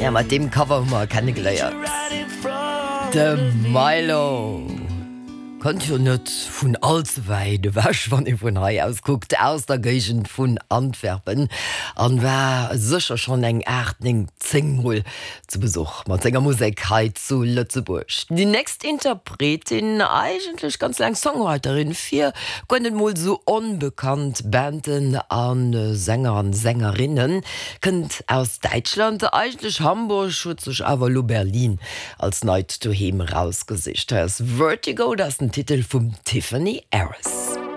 Ja, mat deem Cover hu mer e kennegeléiert. De Mylo kënnt jo net vun all ze wäit ewech, wann ee vun hei aus kuckt, aus der Géigend vun Antwerpen an war sécher schonn eng 8, 9, 10 Mol zu Besuch mat senger Musek hei zu Lëtzebuerg. Déi nächst Interpretin, eigentlech ganz laang Songwriterin fir guer net mol sou onbekannt Banden a Sänger an Sängerinnen, kënnt aus Däitschland, eigentlech Hamburg, huet sech awer elo Berlin als neit Doheem erausgesicht. Hei ass Vertigo, dat ass den Titel vum Tiffany Aris.